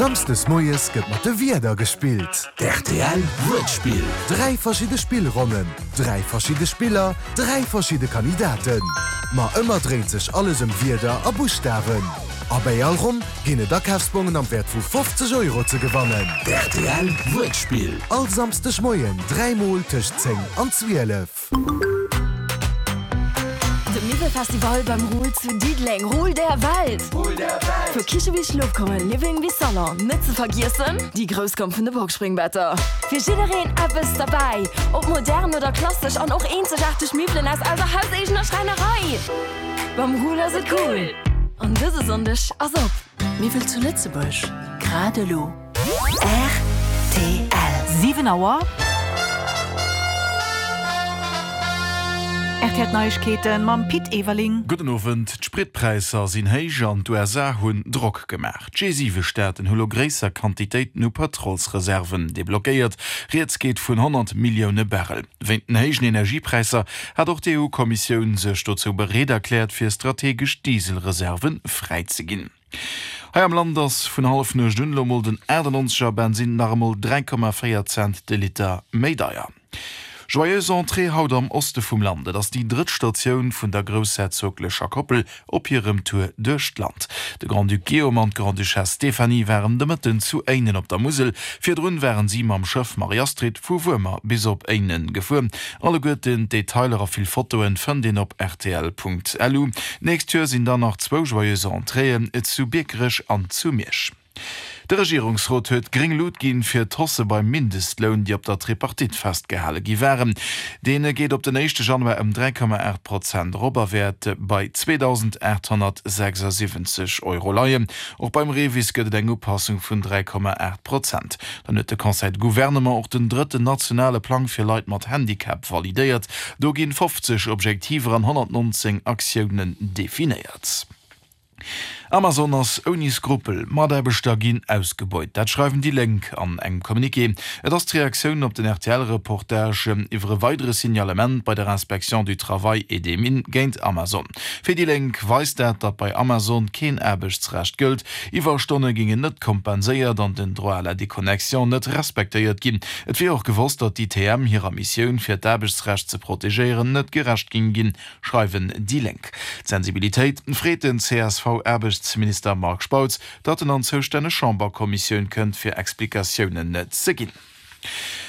Samsdes moies gëtt mat de Wierder gespillt. D'RTL Wuertspill. 3 verschidde Spillronnen, 3 verschidde Spiller, 3 verschidde Kandidaten. Ma ëmmer dréint sech alles ëm Wierder a Buschtawen. A bäi all Ronn ginn et Akafsbongen am Wäert vu 50 Euro ze gewannen. D'RTL Wuertspill. All Samsdeg Moien 3 mol tëscht 10 an 12. De Miwwelfestival beim Ruhl zu Diddeleng, Ruhl der Welt! Vu Kiche bis Schlofkummer, Living bis Salon, net ze vergiessen déi grouss Gamm vun de Boxspringbetter. Fir jiddereen eppes derbäi, ob modern oder klassesch an och eenzegaarteg Miwwelen aus eiser hauseegener Schräinerei. Beim Ruhl ass et cool an dëse Sonndeg ass op. Miwwel zu Lëtzebuerg, grad elo. Rtl. 7 Auer. Rtl D'Neiegkeeten mam Pit Everling. Gudden Owend. D'Spritpräisser sinn héich an d'USA hunn Drock gemaach. D'G7-Staaten hu lo gréisser Quantitéiten u Pëtrolsreserven deblockéiert. Rieds geet vun 100 Millioune Barrel. Wéint den héijen Energiepräisser hat och d'EU-Kommissioun sech dozou bereet erkläert, fir strategesch Dieselreserve fräizeginn. Hei am Land ass vun Hallefnuecht un elo mol den 98 er Bensinn nach emol 3,4 Cent de Liter méi deier. Joyeuse Entrée haut am Oste vum Land. Et ass déi drëtt Statioun vun der groussherzoglecher Koppel op hirem Tour duerch d'Land. De Grand-Duc Guillaume an d'Grande-Duchesse Stéphanie waren de Mëtten zu Éinen op der Musel. Virdrun waren si mam Schëff Marie-Astrid vu Wuermer bis op Éinen gefuer. Alleguerten d'Detailer a vill Fotoen fënnt een op rtl.lu. D'nächst Joer sinn dann nach zwou Joyeuse Entréeën, zu Biekerech an zu Miersch. De Regierungsrot huet gréng Lut ginn fir d'Hausse beim Mindestloun, déi op der Tripartite festgehale gi waren. Dee geet op den éischte Januar ëm 3,8 Prozent erop a wäert bei 2.876 Euro leien. Och beim REVIS gëtt et eng Upassung vun 3,8 Prozent. Dann huet de Conseil de Gouvernement och den drëtten nationale Plang fir Leit mat Handicap validéiert. Do ginn 50 Objektiver an 119 Aktiounen definéiert. Amazon ass ouni Skrupel, Mataarbechter ginn ausgebeut. Dat schreiwen déi Lénk an engem Communiqué. Et ass d'Reaktioun op den RTL-Reportage iwwer e weidere Signalement bei der Inspection du Travail et des Mines géint Amazon. Fir déi Lénk weist dat, datt bei Amazon keen Aarbechtsrecht gëllt, Iwwerstonne géingen net kompenséiert an den Droit à la déconnexion net respektéiert ginn. Et wier och gewosst, datt d'ITM hirer Missioun, fir d'Aarbechtsrecht ze protegéieren, net gerecht géing ginn, schreiwen déi Lénk. D'Sensibilitéit freet den CSV-Aarbechtsminister Marc Spautz, datt en an d'zoustänneg Chamberkommissioun kënnt, fir Explikatiounen ze ginn.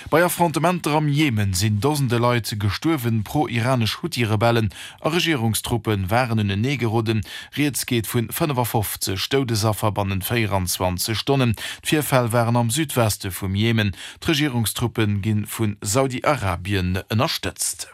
Bei Affrontementer am Jemen sinn Dosende Leit gestuerwen. Pro-iranesch Huthi-Rebellen a Regierungstruppe waren unenee geroden. Rieds geet vun 55 Doudesaffer bannent 24 Stonnen. D'Virfäll waren am Südweste vum Jemen. D'Regierungstruppe gi vu Saudi-Arabien ënnerstëtzt.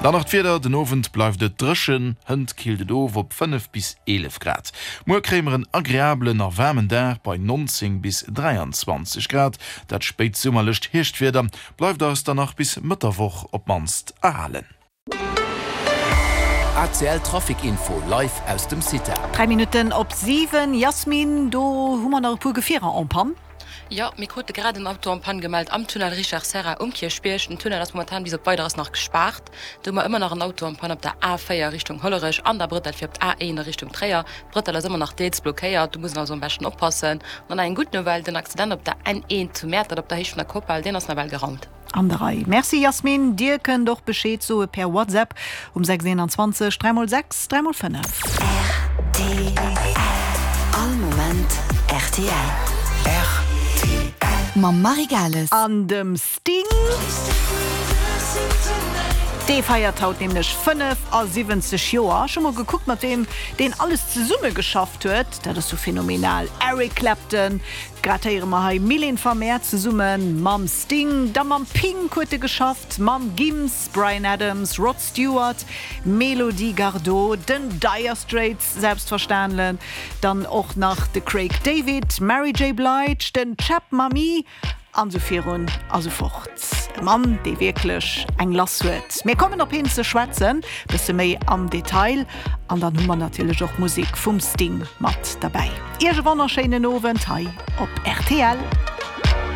Dann nach d'Wieder, Den Owend bleift et dréchen, hënt killt et of op 5 bis 11 Grad. Muer kréie mer en agreabelen a waarmen Dag bei 19 bis 23 Grad. Dat spéitsummerlecht Hierschtwieder bleift eis dann nach bis Mëtt der Woch op d'mannst erhalen. ACL Trafic Info live aus dem CITA. 3 Minutten op 7, Yasmine, do hu mer nach e puer Gefierer en panne. Jo, mir krute grad en Auto en panne gemellt am Tunnel Richard Serra um Kierchbierg. Den Tunnel ass momentan bis op Weideres nach gespaart. Do hu mer ëmmer nach en Auto en panne op der A4 Richtung Hollerech an der Brëttel fir op d'A1 a Richtung Tréier. D'Brëttel ass ëmmer nach deels blockéiert, do muss een also am beschten oppassen. An dann eng gutt Nouvelle, den Accident op der N1 zu Mäertert op der Héicht vun der Kopal, deen ass nawell geraumt. An der Rei. Merci Yasmine, dir kënnt och Bescheed soe per WhatsApp um 6 21 3 x 6 3 x 5. Rtl. All Moment rtl. Rtl. Mam Marie Gales. An dem Sting. Dee feiert haut nämlech 75 Joer. Ech hu mol gekuckt mat weem deen alles zesumme geschafft huet. Dat ass jo phänomenal. Eric Clapton, Grad héiere mer hei Mylène Farmer zesumme mam Sting, da mam Pink huet e geschafft, mam Gims, Bryan Adams, Rod Stewart, Melody Gardot, den Dire Straits selbstverständle, dann och nach de Craig David, Mary J. Blige, den Cheb Mami an esou virun a sou fort. E Mann, dee wierklech eng lass huet. Mir kommen op hien ze schwätzen, bësse méi am Detail, an dann hu mer natierlech och Musek vum Sting mat derbäi. Iech e wonnerschéinen Owend hei op rtl.